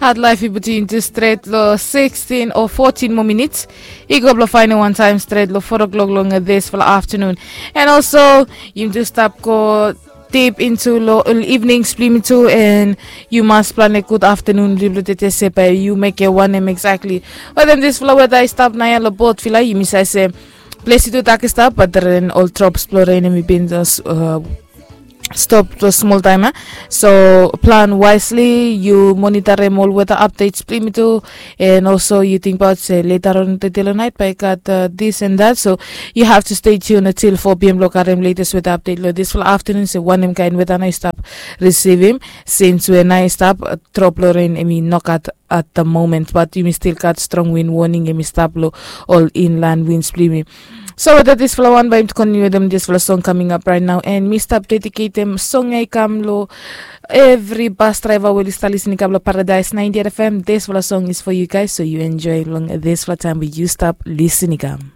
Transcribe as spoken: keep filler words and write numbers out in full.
At laif i putum yumi tu stret long sixteen o fourteen moa minits. I go blong faenem wantaem stret long four o'clock long disfala aftanun. And also yumi tu stap go deep into long ol evenings blong yumi tu, and yu mas planem gud aftanun blong yu blong tete se bae yu mekem wanem exactly. Wetem disfala weda i stap naoia long botvila yumi save se ples i tu dak i stap, bat ren ol drops blong ren em i bin stop long smol taem ya. So plan wisely, yu monitarem ol weda updates blong yumi tu. And also yu tingbaot se leta on tete long naet bae i gat this and that, so yu have to stay tuned until four p.m. blong karem latest weda update long disfala aftanun se wanem kaen weda nao i stap risivim, since we nao i stap drop long ren em i nogat at the moment, bat yumi stil gat strong win warning em i stap long ol inland wins blong yumi. So weda disfala wan bae yumi tu kontiniu wetem disfala song kaming ap raet nao, and mi stap dediketem song ya i kam long evri bas draeva we oli stap lisin i kam long Paradise ninety-eight F M. Disfala song is for you guys, so yu enjoy long disfala taem we yu stap lisin i kam.